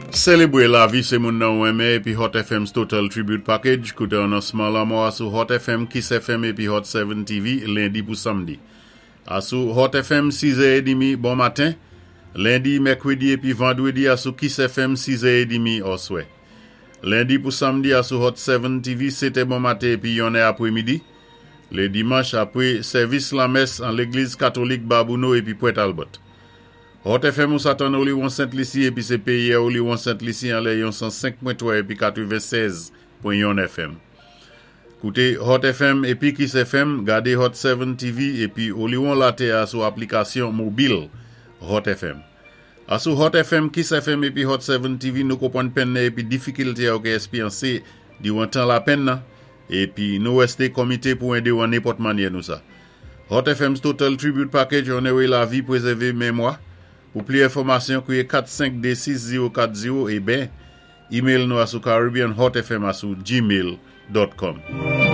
Sélébwé lavi sé moun nan ou renmen épi Hot FM's Total Tribute Package. Kouté anonsman lanmò a sou Hot FM, Kiss FM épi Hot 7 TV lendi pou samdi. Asou Hot FM 6 è édmi bon maten, lendi, mèkwédi épi vandwédi asou Kiss FM 6 è édmi òswè. Lendi pou samdi asou Hot 7 TV 7 è bon maten épi 1 è apwémidi. Lé dimanch apwé sèvis lamès an légliz katolik Babouno épi Pwent Albert. Hot FM ou sa tann Oliwon Sent Lisi épi sé péyi-a Oliwon Sent Lisi anlè yon 105.3 épi 96.1 FM. Kouté Hot FM épi Kiss FM, gadé Hot 7 TV épi Oliwon Latè a sou aplikasyon mobil Hot FM. Asou Hot FM, Kiss FM épi Hot 7 TV nou konpwann penn nan épi difikilte a ou ké èspyansé diwan tan lapenn nan épi nou wèsté konmité pou édé ou an nenpòt mannyè nou sa. Hot FM's Total Tribute Package onoré lavi pwézèvé menmwa. Pou pli enfòmasyon kwiyé 4 5 2 6 0 4 0 é ben email nou asou caribbeanhotfm asou gmail.com.